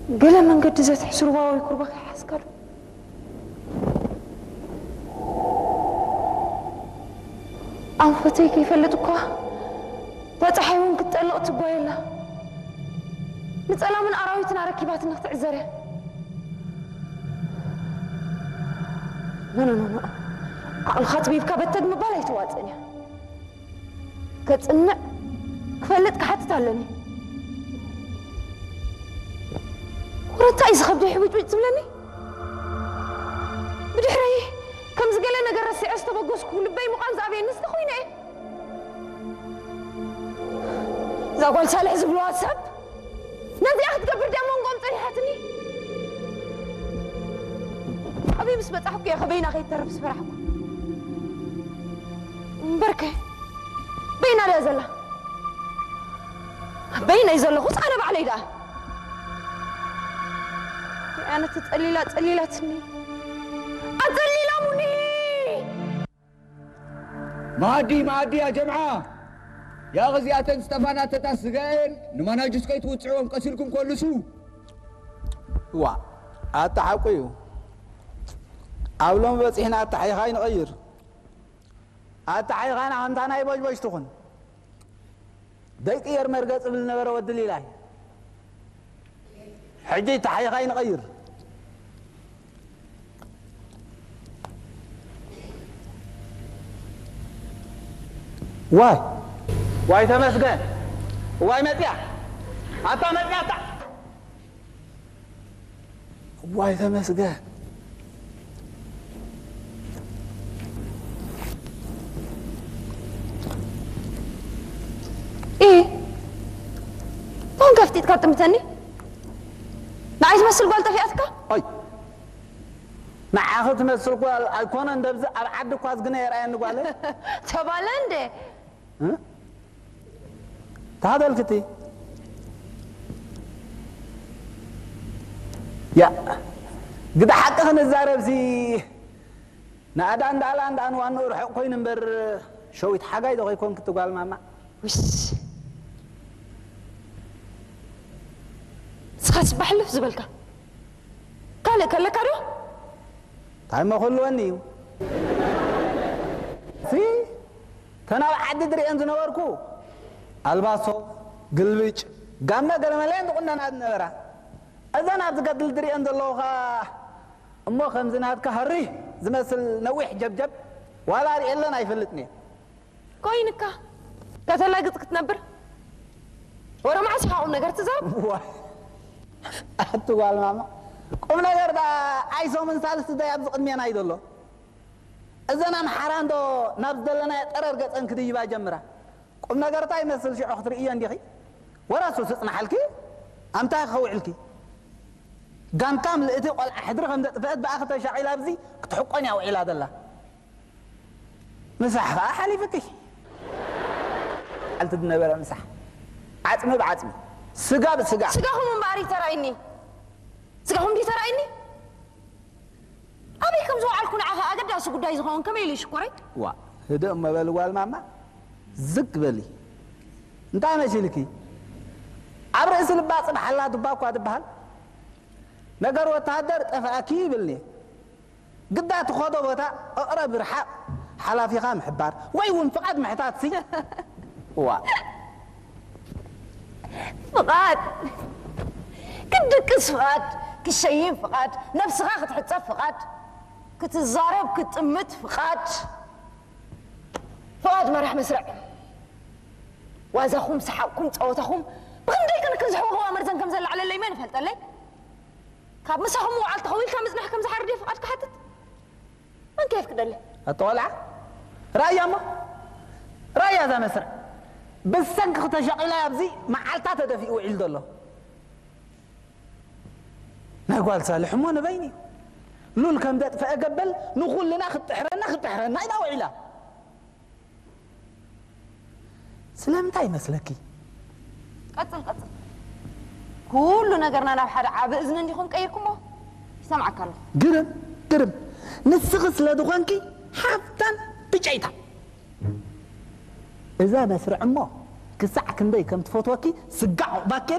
ገለ መንገዲ ዘትሕስ ሩባ ወይ ኩርባ ከይሓዝካ ዶ? ኣንፈተይ ከይፈልጥ እኳ ባጽሓይ እውን ክትጠልቕ ትጓየ ኣላ። ንጸላምን ኣራዊትን ኣረኪባትኒ ክትዕዘር እያ። ኖ፣ ኖ፣ ኖ፣ ኖ። ዓቕልኻ ኣጽቢብካ በተግ ምባል ኣይተዋጽእን እያ። ከጽንዕ፣ ክፈልጥ፣ ክሓትት ኣለኒ። ወረ እንታይ እዩ ዝኸብደይ ሕብጭብጭ ዝብለኒ? ብድሕረይ ከምዚ ገለ ነገር ረሲዐ ዝተበገስኩ ልበይ ምዃን ዝኣብየኒ ዝተኾይነ እየ። እዛ ጓል ሳልሕ ዝብልዋ ሰብ ነዚኣ ክትገብር ድያ መንጎኦም ጸኒሓትኒ? ኣበይ ምስ በጻሕኩ እየ ከበይና ከይተርፍ ዝፈራሕኩ? እምበርከ በይና ድያ ዘላ? በይነይ ዘለኹስ ኣነ ባዕለይ ደኣ? ኣነ ተጸሊላ ጸሊላትኒ። ኣጸሊላሙኒ! መኣዲ መኣዲ ያ ጀምዓ! ያ ኸዚኣተን ዝጠፋና ተታ ስጋኤን ንማናጁስ ከይትውፅዕዎም ቀሲልኩም ኮልሱ። ዋ ኣታ ሓቁ እዩ። ኣብ ሎሚ በፂሕና ኣታ ሓይኻ ይንቐይር። ኣታ ሓይኻና ከምታ ናይ ቦጅቦጅ ትኹን። ደይቅየር መርገ ጽብል ነበረ ወዲ ሊላይ። ሕጂ ተሓይኻ ይንቐይር። ዋይ ዋይ ተመስገን። ዋይ መጽያ ኣታ መጽያ ኣታ ዋይ ተመስገን። ኢ ሞን ከፍጢጥካ ጥምተኒ ንዓይ ትመስል ጓል ጠፊኣትካ። ኣይ ንዓኺ ትመስል ጓል ኣይኮነን ደብዚ ኣብ ዓዲ እኳ ዝግነ የርኣየኒ ጓለ። ተባለ እንደ ታበልክቲ ያ ግዳ ሓቂ ክንዛረብሲ ንኣዳ እንዳላ እንዳን ዋንኡ ርሑቕ ኮይኑ እምበር ሸዊት ሓጋይ ዶ ከይኮንክ ትጓል ማማ። ውሽ ንስኻስ ባሕልፍ ዝበልካ ካልእ ከለካ ዶ? እንታይ መክልወኒ እዩ ሲ ተናብ ዓዲ ድርእየን ዝነበርኩ ኣልባሶ ግልብጭ ጋመ ገለመለየን ዝቁነና ዝነበራ እዘን ኣብዚ ገድሊ ድርእየን ዘለኹ ኸኣ እሞ ከምዚ ናትካ ሃሪ ዝመስል ነዊሕ ጀብጀብ ዋላ ርእየለን ኣይፈልጥን እየ። ኮይንካ ከተላግጽ ክትነብር ወረ መዓስ ኢኻ ቁም ነገር ትዛረብ? ዋይ ኣቲ ጓል ማማ ቁም ነገር ዳ ኣይሶምን ሳልስቲ ዳይ ኣብዚ ቅድሜና እዩ ዘሎ። እዘን ኣምሓራ እንዶ ናብ ዝደለናዮ ጠረር ገጸን ክድይባ ጀምራ። ቁም ነገር እንታይ ይመስል ሽዑ ክትርእዮ እንዲኺ? ወረ እሱ ስጽናሓልኪ ኣምታይ ክኸውዕልኪ? ጋንታ ምልእቲ ቆልዓ ሕድሪ ከም ዘጥፍአት ብኣኺ ተሻቒላ ኣብዚ ክትሕቆን እያ ውዒላ ዘላ። ምሳሕ ኸዓ ሓሊፍኪ። ዓልቲ ዝነበረ ምሳሕ ዓፅሚ ብዓፅሚ ስጋ ብስጋ። ስጋኹም እምበኣር እዩ ተራእይኒ። ስጋኹም ድዩ ተራእይኒ? ኣበይ ከም ዝወዓልኩ ንዓኻ ኣገዳሲ ጉዳይ ዝኸውን ከመይ ኢሉ ይሽኮረይ? ዋ ህድእ እሞ በሊ ጓል ማማ ዝግ በሊ። እንታይ መሲልኪ? ኣብ ርእሲ ልባ ፅባሕ ኣላ ዱባ እኳ ትበሃል። ነገር ወተሃደር ጠፍኣኪ ይብልኒ። ግዳ ትኸዶ ቦታ እቕረብ ርሓቕ ሓላፊኻ ምሕባር ወይ እውን ፍቓድ ምሕታት ሲ ዋ ፍቓድ ክትድቅስ ፍቓድ ክትሸይን ፍቓድ ነብስኻ ክትሕጸብ ፍቓድ ክትዛረብ ክትጥምት ፍቓድ ፍቓድ መራሕ መስርዕ ዋዛኹም ሰሓቕኩም ጸወታኹም ብኽንደይ ክንክን ዝሕወኽዋ መርዘን ከም ዘለዓለለይ መን ይፈልጠለይ ካብ ምሳኹም ምውዓል ተኸዊልካ ምጽናሕ ከም ዝሓርድ እየ ፍቓድ ክሓትት መን ከየፍቅደለይ ኣታ ቆልዓ ራእያ እሞ ራእያ እዛ መስርዕ ብሰንኪ ክተሻቒላ ኣብዚ መዓልታ ተደፊኡ ውዒሉ ዘሎ ናይ ጓል ሳልሕ እሞ ንበይኒ እዩ ሉል ከም ዘጥፈአ ገበል ንኹልና ክትጥሕረና ክትጥሕረና ኢላ ውዒላ ስለምንታይ ይመስለኪ? ቀጽል ቀጽል። ኩሉ ነገርና ናብ ሓደ ዓቢ እዝኒ እንዲኹም ቀይርኩሞ ይሰምዓካ ኣለኹ። ግርም ግርም ንስኺ ስለ ዝኾንኪ ሓፍታን ብጨይታ እዛ መስርዕ እሞ ክሳዕ ክንደይ ከም ትፈትወኪ ስጋዕ ዑቕባኬን